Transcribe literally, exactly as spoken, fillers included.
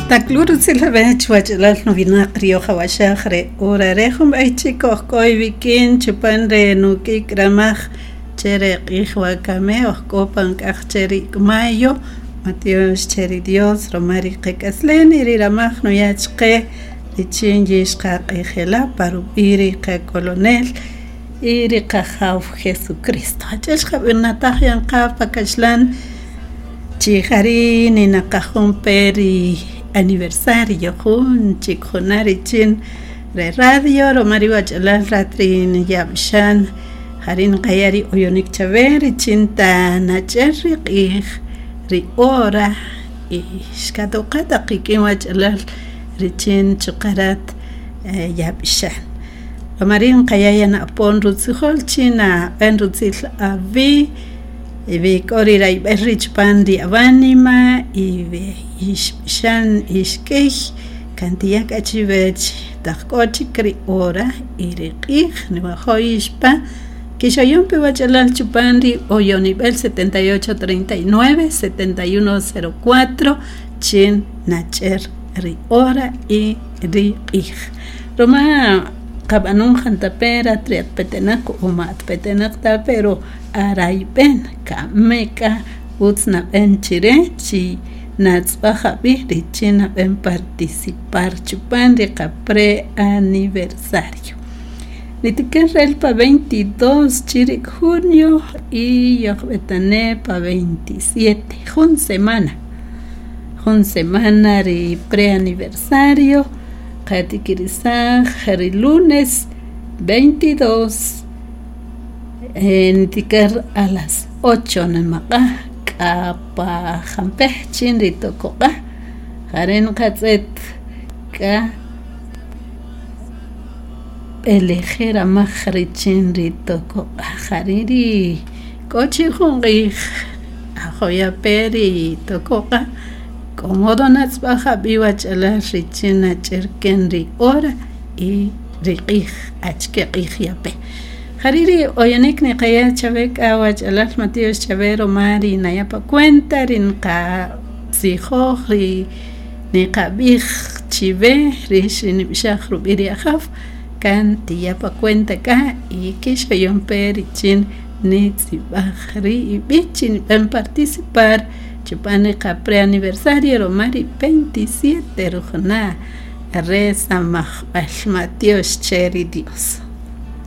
Taklur utzilawech wach'alal nuwinaq riojawachaj re hora re junb'ey chik ojk'o iwik'in chupan re nuk'ik' ramaj che re q'ij wakami ojk'o pan k'aj che ri ik' mayo matiox che ri Dios ruma ri qak'aslem y ri ramaj nuya' chaqe richin yixqaq'ijela' pa rub'i' ri qakolonel y ri qajaw Jesucristo. Ach'el xqab'anataj yan qa pa kaxlan chi jari' ninaqajun pe ri aniversario jun chik juna' richin re radio ruma ri wach'alal rat ri niyab'xan jari' nqaya' ri oyonik chawe richin ta nach'er ri q'ij ri hora y xkatoqa taq qik'in wach'alal richin chuqa' rat yab'xan ruma ri' nqaya' yan apon rutzijol chi nab'en rutzil awi' wi k'o ri rayb'el ri' chupan ri awanima y we ixb'ixan ixk'iy kan tiya' k'a chiwech taq k'o chik ri hora y ri q'ij niwajo' ixpa kixoyon pe wach'alal chupan ri oyonib'el setenta y ocho treinta y nueve setenta y uno cero cuatro chin nach'er ri hora y ri q'ij ruma qab'anun jantape' rat ri atpetenaq o ma atpetenaq ta pero arayb'en kame k'a utz nab'en chire chi natz'b'aj ab'i' richin nab'en participar chupan ri qa pre-aniversario nitiker el pa veintidós chirik junio y yojb'etane' pa veintisiete jun semana jun semana ri pre-aniversario qatikirisaj ri lunes veintidós nitiker a las ocho nimaq'a' k'a pa jampej chin ri tokoq'a' jare' nqatz'et k'a b'eleje' ramaj richin ri tokoq'a' jari' ri k'o chi jun q'ij ajoyape ri tokoq'a' k'o modo natz'b'aj ab'i' wach'alal richin nach'er ken ri hora y ri q'ij achike q'ij yape jari' ri oyonik niqaya' chawe k'a wach'alal matiox chawe ruma ri naya' pa cuenta ri nqatzijoj ri niqab'ij chiwe rix ri nib'ixaj rub'i' ri ajaw kan tiya' pa cuenta k'a y kixoyon pe richin nitz'ib'aj ri ib'i' chi nib'en participar chupan ri qa pre-aniversario ruma ri veintisiete rujuna' re samajb'al matiox che ri Dios.